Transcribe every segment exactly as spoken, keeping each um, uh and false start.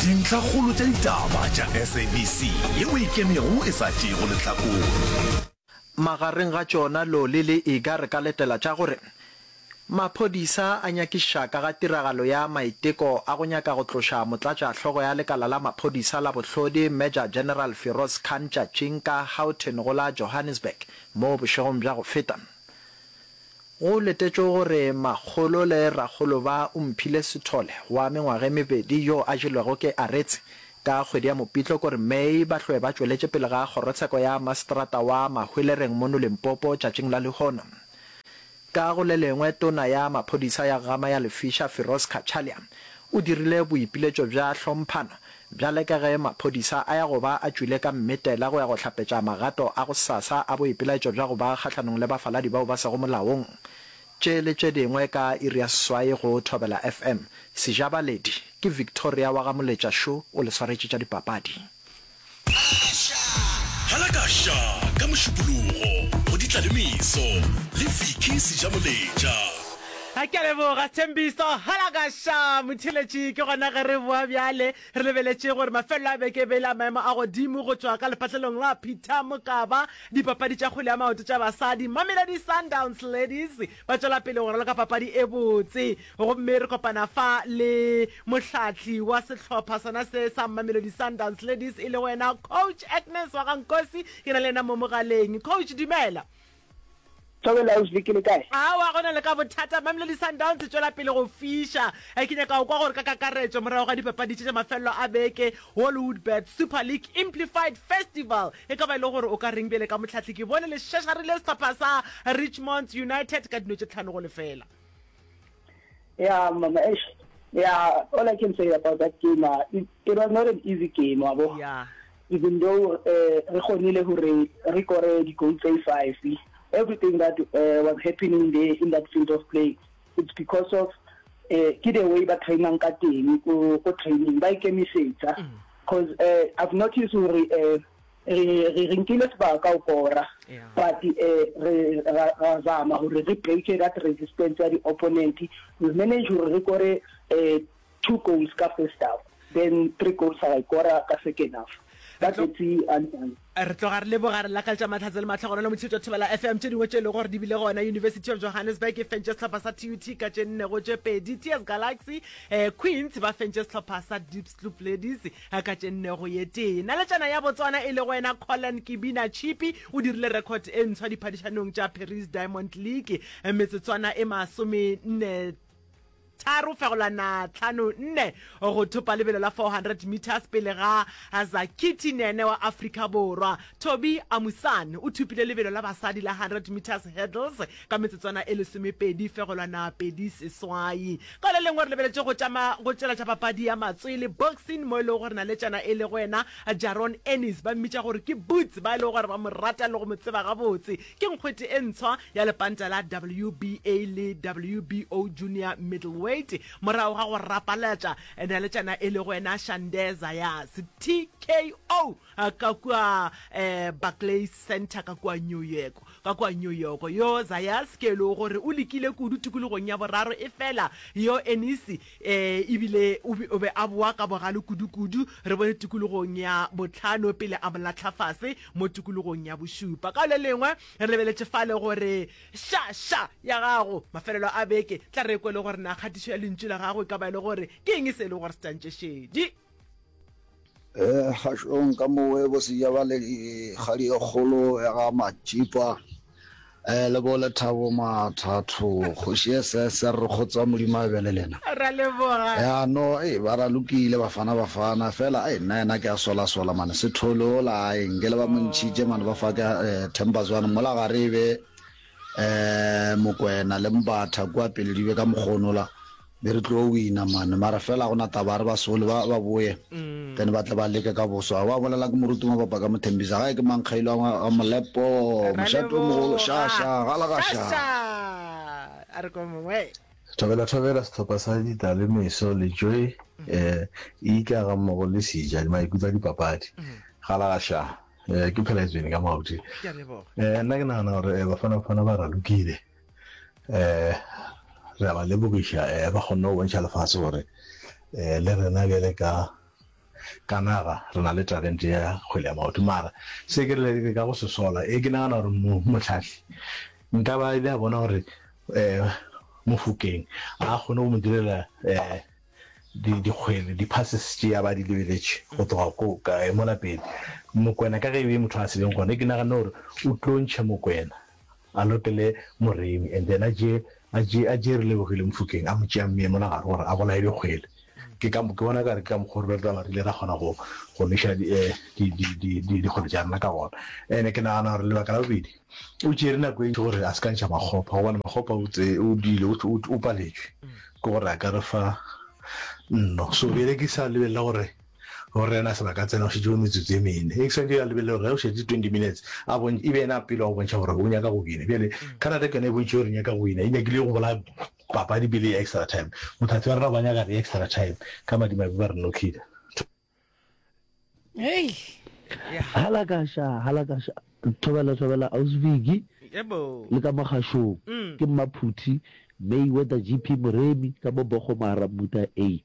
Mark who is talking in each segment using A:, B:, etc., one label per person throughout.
A: Dintlhakgolo tša ditaba tša S A B C yeo e ikemego e sa tšeego lehlakore.
B: Magareng ga tšona Loli le Iga re ka letela tša gore maphodisa a nyakišiša ka ga tiragalo ya maiteko a go nyaka go tloša motlatšahlogo ya lekala la maphodisa la bohlodi Major General Firoz Khan tšatšing ka Houghton go la Johannesburg mo bošegong bja go feta. Go letetšwe gore makgolo le rakgolo ba Omphile Sithole wa mengwaga e mebedi yo a jelwego ke aretse ka kgwedi ya Mopitlo kore May ba hlwe ba tšweletše pele ga kgorotsheko ya maseterata wa Mahwelereng mono Limpopo tšatšing la lehono. Ka go le lengwe tona ya maphodisa ya Gama ya Lefiša Firoz Cachalia o dirile boipiletšo bja hlomphano bjale ka ge maphodisa a ya go ba a tšwile ka mmetela go ya go hlapetša magato a gosasa a boipelaetšo bja go ba kgahlanong le bafaladi bao ba sego molaong. Tše le tše dingwe ka iri ya seswai go Thobela F M. Sejabaledi ke Victoria wa ga Moletša šo o le swaretše tša dipapadi.
A: Halakaša ka Mošupologo go Ditlalemeso le Vicky Sejamoletša.
C: Ke a leboga Sthembiso. Halakaša motheeletši, ke gona ge re boa bjale re lebeletše gore mafelelo a beke e be e le a maemo a godimo go tšwa ka lepatlelong la Peter Mokaba. Dipapadi tša kgwele ya maoto tša basadi, Mamelodi Sundowns Ladies ba tšwela pele go raloka papadi e botse, gomme re kopana fa le mohlahli wa sehlopha sona se sa Mamelodi Sundowns Ladies e lego yena Coach Agnes wa ga Nkosi. Ke na le yena mo mogaleng. Coach, dumela.
D: Thobela, ausi, ke le kae?
C: Aowa, go na le ka bothata. Mamelodi Sundowns e tšwela pele go fiša. Ke nyaka go kwa gore ka kakaretšo morago ga dipapadi tše tša mafelelo a beke, Hollywoodbets Super League Amplified Festival, e ka ba e le gore o ka reng bjale ka mohlahli? Ke bone le šešarile sehlopha sa Richmond United ka dino tše tlhano go lefela.
D: Yeah, mama, eish. Yeah, all I can say about that game, uh, it, it was not an easy game, wabo.
C: Yeah.
D: Even though uh, re kgonile hore re kore di-goal tse five, everything that uh, was happening there in that field of play, it's because of uh, ke the way ba trainang ka teng ko ko training, ba ikemisetsa, because uh, I've noticed hore uh, re re re nkile sebaka o kora,
C: Yeah.
D: but uh, re ra ra zama hore re break that resistance ya di-opponent. We manage hore re kore uh, two goals ka first half, then three goals ra kora ka second half. Ba tletse undone.
C: Re tloga re leboga, re lakaletša mahlatse le mahlogonolo motheetši wa Thobela F M. Tše dingwe tše e lego gore di bile gona, University of Johannesburg e fentše sehlopha sa T U T ka tše nne go tše pedi. T S Galaxy eh, Queens ba fentše sehlopha sa Diepsloot Ladies eh, ka tše nne go ye tee. Naletšana ya Botswana e lego wena Collen Kibina Chipi o dirile record e ntshwa diphadišanong tša Paris Diamond League, eh, metsotswana e masome nne tharo fegolwana tlhano nne go thopa lebelo la four hundred meters pele ga Zakiti Nene wa Afrika Borwa. Toby Amusan o thopile lebelo la basadi la hundred meters hurdles ka metsotswana e lesomepedi fegolwana pedi seswai. Ka le lengwe re lebeletše go tšama go tšela tša papadi ya matswele, boxing, mo e lego gore naletšana e lego yena Jaron Ennis, ba mmitša gore ke Boots, ba e lego gore ba mo rata le go mo tseba gabotse, ke nkgwete e ntshwa ya lepanta la W B A le W B O junior middleweight morago ga go rapalatša naletšana e lego yena Xander Zayas T K O ka kua eh, Barclays Center ka kua New York ka kua New York. Yo Zayas ke e lego gore o lekile kudu tikologong ya boraro, e fela yo Ennis eh, ebile o be o be a boa ka bogale kudu-kudu. Re bone tikologong ya botlhano pele a mo latlha fase mo tikologong ya bošupa. Ka le lengwe re lebeletše fale gore ša ša ya gago mafelelo a beke, tla re kwe le gore na kgatišo ya lentšu la gago e ka ba e le gore ke eng se e le gore se tantše šedi.
E: Eh, kgašong ka mowe bo sejabale kgadi e kgolo ya ga Matšipa eh le bo Lethabo Mathatho kgoši S S re kgotsa Modimo a be le lena.
C: Ra leboga.
E: Ya no e ba ra lokile Bafana Bafana fela ai nna yena ke a sola sola mane Sethole ola ai nke le ba mo ntšhitše mane ba fa ke eh, Themba Zwane mola gare e be eh Mokwena le Mbatha kua pele di be ka mokgonola be re tlo wina mane, mara fela gona taba re ba sole ba ba boye, then ba tle ba leke ka boswa wa bolela ke moruti Mabapa ka Mothembisa gae ke mankgailo a Molepo
C: Ra
E: mošate o mogolo
C: leboga.
E: Šaša gala ga
C: ša
E: ša.
C: Ša a re ko mongwe.
F: Thobela thobela sehlopha sa Ditalemeso le Joy eh ika ga mmogo le Seja maikutlo a dipapadi gala ga ša eh ke phela etswene ka maoto.
C: Ke a leboga.
F: eh nna ke nagana gore eh, Bafana Bafana ba ralokile, eh re a ba lebogiša, eh ba kgonne go bontšha lefase gore eh le rena bjale ka ka naga re na le talente ya kgwele ya maoto. Mara se ke re ka go se sola, e ke nagana gore mohlahli nka ba ile a bona gore um Mofokeng a kgone go mo direla um dikgwele, di-passes tše a ba di lebeletše go tloga ko kae mola pele. Mokwena ka ge e be motho a se leng gona, ke nagane gore o tlo ntšha Mokwena a lokele Moremi and then a tšee a tšee a tšee Relebogile Mofokeng a mo tšea mmeye mola gare gore a bolaye dikgwele. Ke ka ke bona kare ke ka mokgwa re tla re ile ra kgona go go nweša di di di di dikgwele tša rena ka gona. Ene ke nagana gore lebaka la bobedi o tšere nako e ntši gore a se ka ntšha Makgopa gobane Makgopa o tse o dile o o paletšwe ke gore a ka re fa nno. So bjale ke sa lebelela gore gore yena a se ba ka tsena go šetše bo metsotso e mene. E ke swanetše a lebelele gore ge go šetše twenty minutes a bontšhe e be yena a pele wa go bontšha gore o nyaka go wina. Bjale Canada ke yona e bontšhitše gore e nyaka go wina, e nyakile go bolaya papadi pele ya extra time. Mothatsi wa rena ba nyaka re extra time, ka madimabe ba re knockile.
G: Hei.
H: Halakasha, halakasha, thobela, thobela, Ausi Vicky,
C: Yebo.
H: le ka mo kgašong,
C: Mm.
H: ke Mmaphuthi, Mayweather G P Moremi, ka mo Bogo Mara Mmuta A.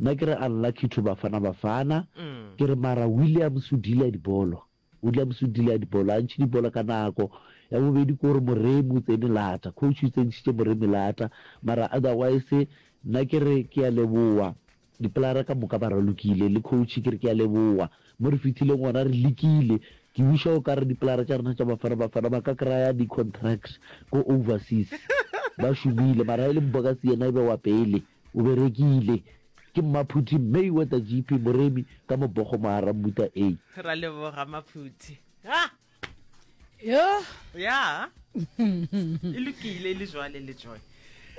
H: Nna ke re unlucky to Bafana Bafana,
C: Mm.
H: ke re mara Williams o dealer dibolo, Williams o dealer dibolo, a ntšhe dibolo ka nako. Ya bobedi ke gore Moremi o tsene lata, coach o tsentšhitše Moremi lata, mara otherwise nna ke re ke a leboa, dipolara ka moka ba ralokile, le coach ke re ke a leboa, mo re fihlileng gona re lekile, ke wiša o ka re dipolara tša rena tša Bafana Bafana ba ka kry-a di-contracts ko overseas, ba šomile, mara e le Mbokazi yena e be wa pele, o berekile. Ke Mmaphuthi Mayweather G P Moremi ka mo Bogo Mahara Mmuta A.
C: Ra leboga Maphuthi. Ah!
G: Yo.
C: Ya. E lokile e le jwale le Joy.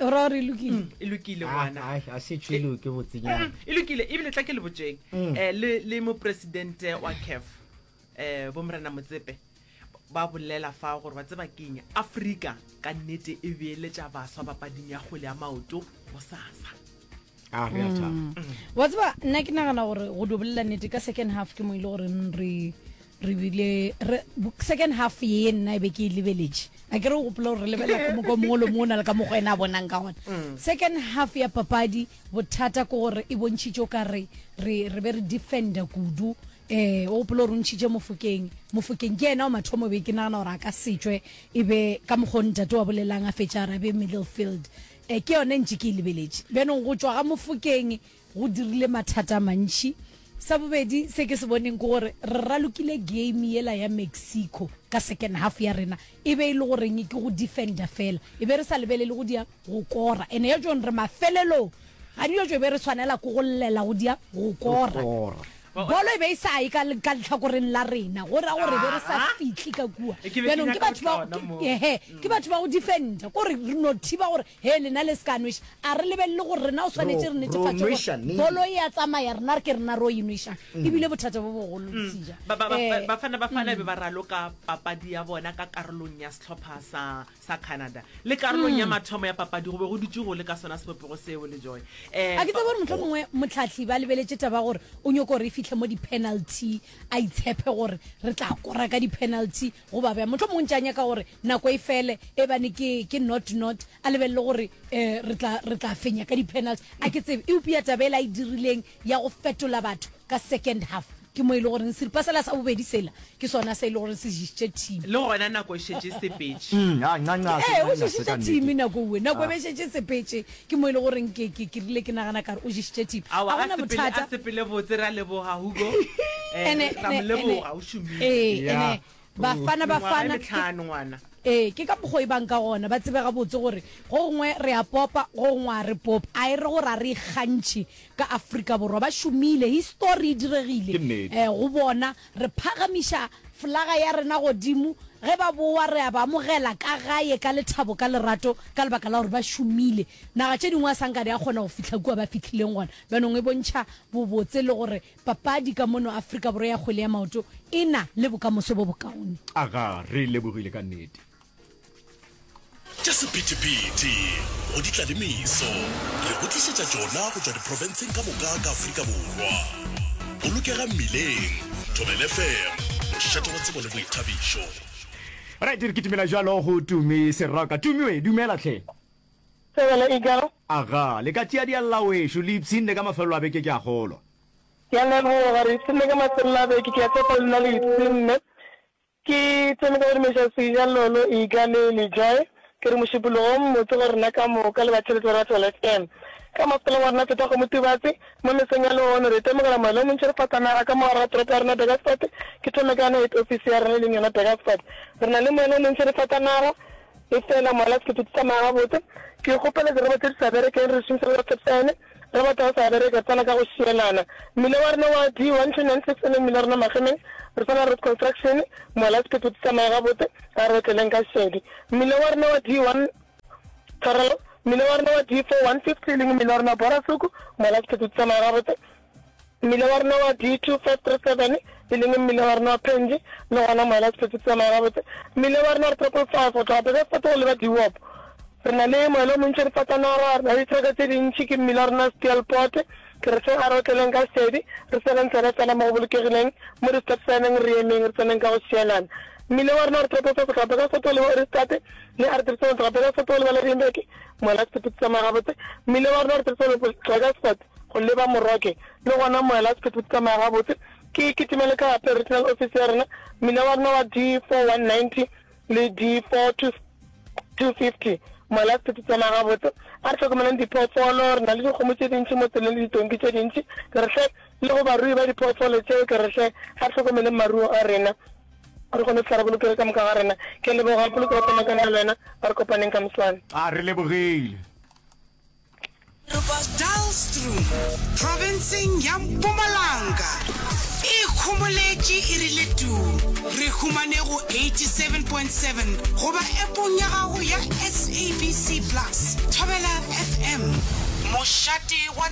G: O ra gore e lokile?
C: Mm, e lokile ngwana.
I: Ah, a se tšwe loke botsenyana.
C: Mm, e lokile ebile tla ke le botšeng.
I: Mm.
C: Eh le le mopresidente wa C A F eh bo Morena Motsepe ba bolela fa gore ba tseba keng Afrika ka nnete e beeletša baswa papading ya kgwele ya maoto go sasa.
I: A re a thaba.
G: Mm. Wa tseba nna ke nagana gore go do bolela nnete ka second half ke mo ile gore re re bile re second half ye nna e be ke e lebeletše. A ke re o gopola gore re lebelela ka mokgwa o mongwe le mongwe o na le ka mokgwa ena a bonang ka gona.
C: Mm.
G: Second half ya papadi bothata ke gore e bontšhitše o ka re re re be re defender kudu. Eh o gopola gore o ntšhitše Mofokeng. Mofokeng ke yena wa mathomo be ke nagana gore a ka setšwe e be ka mokgwa o ntate wa bolelang a fetša a re a be middle field. Eh ke yone ntše ke e lebeletše. Bjanong go tšwa ga Mofokeng go dirile mathata a mantši. Sa bobedi se ke se boneng ke gore re ralokile game yela ya Mexico ka second half ya rena e be e le goreng ke go defender fela, e be re sa lebelele go dia go kora. Ene ya tšong re mafelelong ga dio tšo be re tshwanela ke go llela go dia go kora. Bolo e be e sa ye ka ka letlhakoreng la rena, go ra gore be re sa
C: Ah.
G: fihle ka kua.
C: E ke be ke
G: Bjanong ke
C: nyaka
G: batho
C: go
G: ba
C: tla gona moo.
G: ehe, ke batho ba go defender, ko re re no thiba gore he lena le se ka nweša. A re lebelele gore rena o swanetše re
I: Ro- ro
G: netefatše gore
I: nweša neng?
G: bolo e a tsamaya, rena re ke rena ro e nwešang.
I: Mm.
G: Ebile bothata bo bogolo
C: Mm.
G: Seja.
C: Ba- ba- ba-
G: Eh,
C: Bafana Bafana
G: mm.
C: be ba raloka papadi ya bona ka karolong ya sehlopha sa sa Canada. Le karolong ya
G: Mm.
C: mathomo ya papadi go be go dutše go le ka sona sebopego seo le Joy. Eh,
G: A ke tsebe gore mohlomongwe motlhahli ba lebeletše taba gore o nyoko gore e fihle mo di-penalty, a itshepe gore re tla kora ka di-penalty goba bjang. Mohlomongwe ntše a nyaka gore nako e fele e bane ke, ke not not, a lebelele gore, eh, re tla, re tla fenya ka di-penalty. A ke tsebe, eupša taba ela e dirileng ya go fetola batho ka second half ke mo e le goreng seripa sela sa bobedi sela ke sona se e le goreng se ješitše team.
C: Le gona nako e šetše e sepetše.
J: Mm, a, nca, nca, se
G: Ee, o
J: nca, se
G: ješitše
J: ka nnete.
G: team nako uwe. Nako e
J: Ah.
G: be šetše e sepetše, ke mo e le goreng ke, ke, ke rile ke nagana kare o ješitše team.
C: Aowa,
G: Ga
C: a
G: gona
C: sepele,
G: bothata.
C: a sepele botse, ra leboga Hugo. Eh,
G: Ene,
C: ra mo
G: ene,
C: leboga,
G: ene.
C: o šomile.
G: Ee,
J: Yeah.
G: ene, Bafana,
C: Mengwaga e
G: Bafana, ke
C: metlhano ngwana.
G: Ee, ke ka mokgwa e bang ka gona, ba tsebe gabotse gore go gongwe re a popa, go gongwe a re pope. A e re gore a re ikgantšhe ka Afrika Borwa, ba šomile, history e diregile.
J: Ke nnete.
G: Eh, go bona re phagamiša flaga ya rena godimo, ge ba boa re a ba amogela ka gae ka lethabo, ka lerato, ka lebaka la gore ba šomile. Naga tše dingwe a sanka di a kgona go fihla kua ba fihlileng gona. Bjanong e bontšha bobotse le gore papadi ka mono Afrika Borwa ya kgwele ya maoto e na le bokamoso bo bokaone.
J: Aga, re lebogile ka nnete.
A: Tša sephethephethe go di tla le meso, re go tlišetša tšona go tšwa diprofenseng ka moka ka Afrika Borwa. Bolokega mmileng, Thobela F M, mošate wa tsebo le boithabišo.
J: Right, re kitimela jalo go Tumi Seroka. Tumi we, dumela tlhe.
D: Thobela Eagle.
J: Aga, le ka tšea dialla wešo, le ipshinne ka mafelelo a beke ke a kgolwa.
K: Ke a leboga. Re ipshinne ka mafelelo a beke. Ke a tshepa le nna le ipshinne. Ke thome ka go dumeša Seja, Lolo, Iga le Lejoy. Ke re mošupologo o mmotse go rena ka moka le batheeletši ba Ratholo F M. Ka masepaleng wa rena Feta Kgomo Tubatse, mo mesong ya lehono re itemogela moelo o montši re fata naga ka mo gare ga toropo ya rena Burgersfort. Ke thome ka yona head office ya rena e leng yona Burgersfort. Re na le moelo o montši re fata naga, efela moela sephethephethe tsamaya gabotse. Ke kgopela dirobot tše di sa berekeng re di šomiše le stop sign. Re batho ba sa bereke, re tsena ka go šielana. Mmila wa rena wa D one two nine six e leng mmila wa rena Magemeng, re tsena road construction, mola sephethephethe tsamaya gabotse, a re otleleng ka šedi. Mmila wa rena wa D one, tshwarelo, mmila wa rena wa D four one fifty e leng mmila wa rena wa Borasuku, mola sephethephethe tsamaya gabotse. Mmila wa rena wa D two five three seven e leng mmila wa rena wa Phenji, le gona mola sephethephethe tsamaya gabotse. Mmila wa rena wa triple five go tloga Burgersfort go leba Dewop, Re na le moela o montši re fatanaga, re na le dithraka tše dintši, ke mmila wa rena Steelpoort. Ke re hle a re otleleng ka šedi, re seleng tsela fela mo go bolokegileng, mo di-stop sign-eng re emeng, re tseneng ka go šielana. Mmila wa rena wa re Tropo go tloga Burgersfort go leba Ohrigstad le R three seven go tloga Burgersfort go leba Lydenburg, moela wa sephethephethe tsamaya gabotse. Mmila wa rena wa re three seven go tloga Burgersfort go leba Moroke, le gona moela wa sephethephethe tsamaya gabotse. Ke kitimele ka gape regional office ya rena, mmila wa rena wa D four one ninety le D four two two fifty Mola sephetho tsamaya gabotse. A re hlokomeleng diphoofolo. Re na le dikgomo tše dintši mo tseleng le ditonki tše dintši. Ke re hle, le go barui ba diphoofolo tšeo, ke re hle, a re hlokomeleng maruo a rena, re kgone go fihla re bolokege ka moka ga rena. Ke a leboga. Polokego tsamaya ka nna le wena. A re kopaneng ka moswane.
J: A re lebogile.
L: Dullstroom, profenseng ya Mpumalanga, e ikhomoletše e rile tuu. Re humane go eighty seven point seven goba appong ya gago ya S A B C Plus. Thobela F M, mošate wa.